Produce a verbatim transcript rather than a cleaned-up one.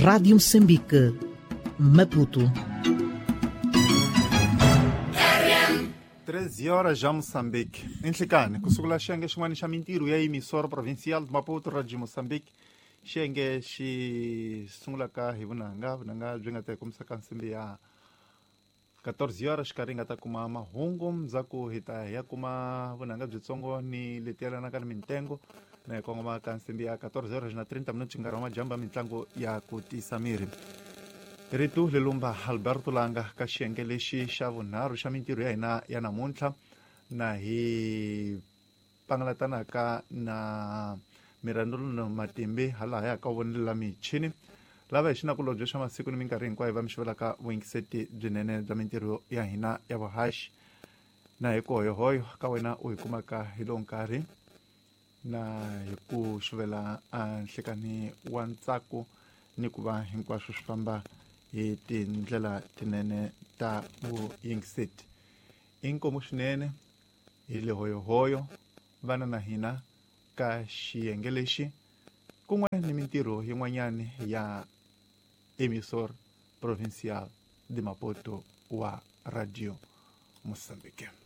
Rádio Moçambique, Maputo. treze horas já Moçambique. Enhlikani ku sungula xiyenge xin'wana xa mintirho ya emisoro provincial de Maputo Radio Moçambique. Xiyenge xi sungulaka hi vunanga, vunanga byi nga ta hi kombisa ka nsimbi ya quatorze horas xikarhi hi nga ta kuma mahungu ndzhaku hi ta hi ya kuma vunanga byitsongo ni leti yelanaka ni mintengo na hi kongoma ka nsimbi ya quatorze horas na trinta minutos nkarhi wa majambu ya mitlangu ya ku tisa miri. Rito Lelumba Alberto Langa ka xiyenge lexi xa vunharhu xa mintirho ya hina ya namuntlha na hi pangalatanaka na Mirandolo Matimbi hala ya ka vonelela michini lava hi xinakulobye xa masiku ni minkarhi hinkwayo va mi xavelaka vuyingiseti byinene bya mintirho ya hina ya vuhaxi na hi ku hoyohoyo ka wena u hi kumaka hi lowu nkarhi na hi ku xuvela nhlikani wa ntsako ni ku va hinkwaswo swi famba hi tindlela tinene ta vuyingiseti. Inkomu swinene hi le hoyohoyo vana na hina ka xiyenge lexi kun'we ni mintirho yin'wanyani ya emisor provincial de Maputo wa Radio Moçambique.